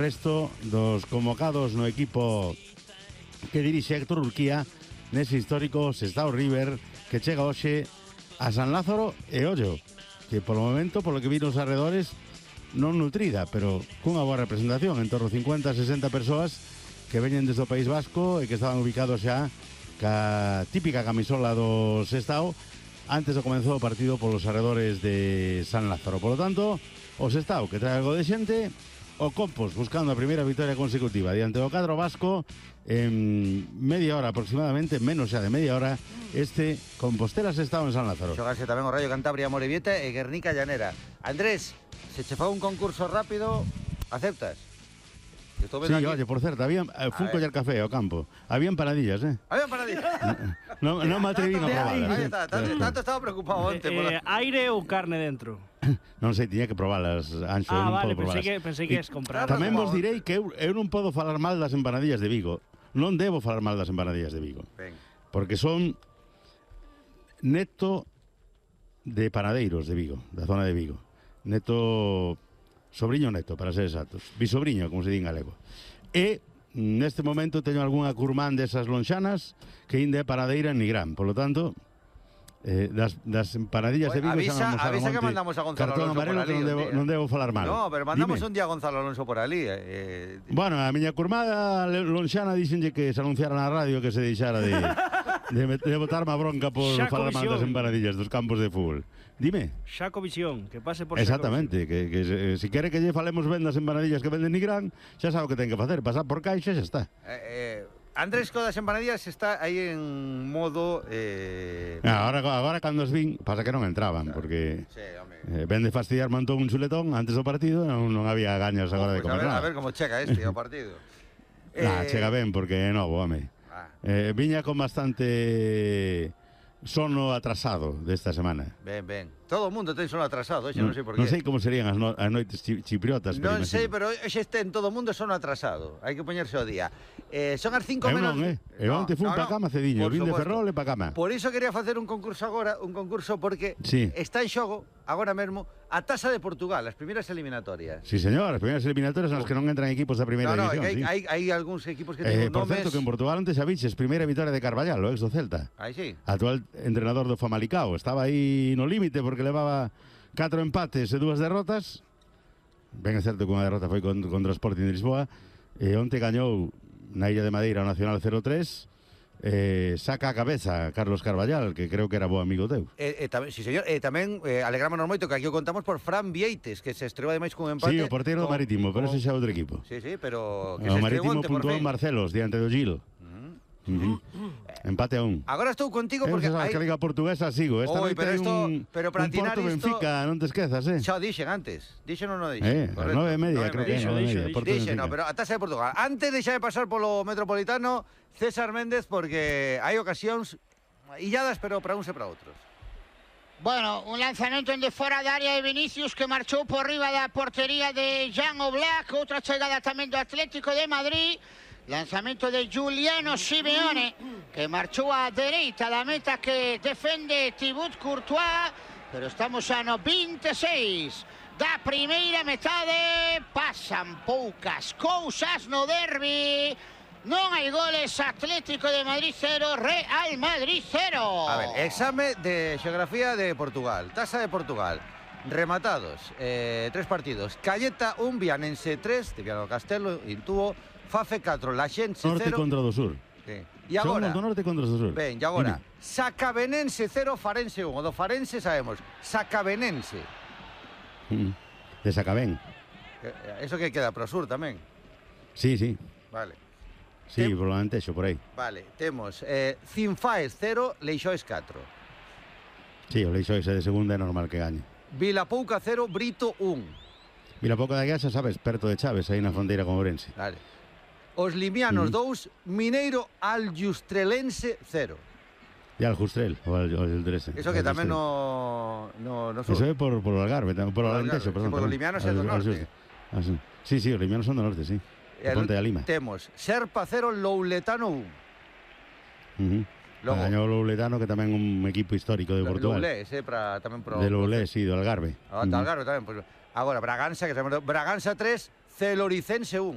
Resto dos convocados no equipo que dirixe Héctor Urquía nese histórico Sestao River que chega hoxe a San Lázaro e Ollo, que polo momento, polo que vi nos arredores, non nutrida, pero cunha boa representación, en torno a 50-60 persoas que veñen desde o País Vasco e que estaban ubicados xa ca típica camisola do Sestao antes do comenzou o partido polos arredores de San Lázaro. Por lo tanto, o Sestao que trae algo de xente, o Compos buscando a primeira victoria consecutiva diante do cadro vasco en media hora aproximadamente, menos xa de media hora, este Compostela Sestao en San Lázaro. Xogase tamén o Rayo Cantabria Morevieta e Guernica Llanera. Andrés, se che fa un concurso rápido, aceptas? Sí, aquí. Oye, por certo, había fun coller café ao campo. Habían paradillas, Habían paradillas. Non me atrevín a probalas. Aí está, tanto estaba preocupado onte. Aire ou carne dentro? Non sei, tiña que probalas, Anxo. Vale, pensei que es comprar. Tamén vos direi que eu non podo falar mal das empanadillas de Vigo. Non debo falar mal das empanadillas de Vigo. Ben. Porque son neto de panadeiros de Vigo, da zona de Vigo. Sobriño neto, para ser exactos. Bisobriño, como se di en galego. E neste momento teño algunha curmán desas lonxanas que inde é paradeira en Nigrán. Por lo tanto, das empanadillas de Vigo avisa que mandamos a Gonzalo Alonso por ali. Non debo falar mal. No, pero mandamos un día a Gonzalo Alonso por ali. Bueno, a miña curmada lonxana dixenlle que se anunciara na radio que se deixara de botarme a bronca por falar mal das empanadillas dos campos de fútbol. Dime. Xaco Visión, que pase por Exactamente, que se quere que lle falemos ben das empanadillas que venden Nigrán, xa sabe o que ten que facer, pasar por caixa e xa está. Andrés co das empanadillas está aí en modo... Agora cando os vin, pasa que non entraban, porque ven de fastidiar montón un chuletón antes do partido, non había gañas agora de comer nada. A ver como chega este ao partido. Chega ben, porque é novo, home. Viña con bastante sono atrasado desta semana. Ben. Todo o mundo ten sono atrasado, non sei por qué. Non sei como serían as noites chipriotas. Non sei, pero xe ten todo o mundo sono atrasado. Hai que poñerse ao día. Son as 5 menos... Eu onte fun pa cama cediño, vin de Ferrol e pa cama. Por iso quería facer un concurso agora, porque está en xogo, agora mesmo, a Taza de Portugal, as primeiras eliminatorias. Sí, señor, as primeiras eliminatorias nas que non entran equipos da primeira división. Hai algúns equipos que ten por nomes... certo, que en Portugal antes xa viches, primeira vitória de Carballal, o ex do Celta. Aí sí. Actual entrenador do Famalicao. Estaba aí no límite porque levaba 4 empates e 2 derrotas. Ben é certo que unha derrota foi contra o Sporting de Lisboa. E onte gañou na Illa de Madeira o Nacional 0-3. Saca a cabeza Carlos Carballal, que creo que era bo amigo teu. Sí, señor. Tamén alegrámonos moito que aquí o contamos por Fran Vieites, que se estreou ademais cun empate. Sí, o porteiro do Marítimo, pero ese xa é outro equipo. Sí, pero que o se Marítimo estreou onte por puntuou fin. en Marcelos, diante do Gil. Empate a 1. Agora estou contigo porque hai... que a Liga Portuguesa sigo. Esta noite hai un Porto Benfica, non te esquezas, Xa o dixen antes. Dixen ou non dixen? A 9:30, creo que é. Dixen, no, pero a Taza de Portugal. Antes deixa de pasar polo Metropolitano César Méndez, porque hai ocasións illadas, pero para uns e para outros. Bueno, un lanzamento en de fora da área de Vinicius que marchou por riba da portería de Jan Oblak. Outra chegada tamén do Atlético de Madrid. Lanzamento de Giuliano Simeone, que marchou á dereita da meta que defende Thibaut Courtois, pero estamos xa no 26 da primeira metade. Pasan poucas cousas no derbi. Non hai goles, Atlético de Madrid 0, Real Madrid 0. A ver, exame de xeografía de Portugal, Taza de Portugal. Rematados, 3 partidos. Calleta 1, Vianense 3, de Viano Castelo, Intuo. Fafe 4, Laxense 0. Norte contra do sur. Sí. E agora... Son do norte contra do sur. Ben, e agora, Sacabenense 0, Farense 1. O do Farense sabemos, Sacabenense. De Sacabén. Eso que queda pro sur tamén. Sí. Vale. Sí, por lo Antexo, por aí. Vale, temos Cinfaes 0, Leixoes 4. Sí, o Leixoes é de segunda, é normal que gañe. Vilapouca 0, Brito 1. Vilapouca da Guiaxa, sabes, perto de Chaves, aí na fronteira con Ourense. Vale. Os Limianos 2, Mineiro Aljustrelense 0. E Aljustrel, o Aljustrelense. Eso que tamén no sur. Eso é por o Algarve, por o Alentejo, perdón. Por os Limianos é do norte. Sí, os Limianos son do norte, sí. Ponte da Lima. Temos Serpa 0, Louletano 1. Gañou o Louletano, que tamén é un equipo histórico de Portugal. Loulé, tamén pro... De Loulé, sí, do Algarve. Do Algarve tamén. Agora, Braganza, que sabemos... Braganza 3, Celoricense 1.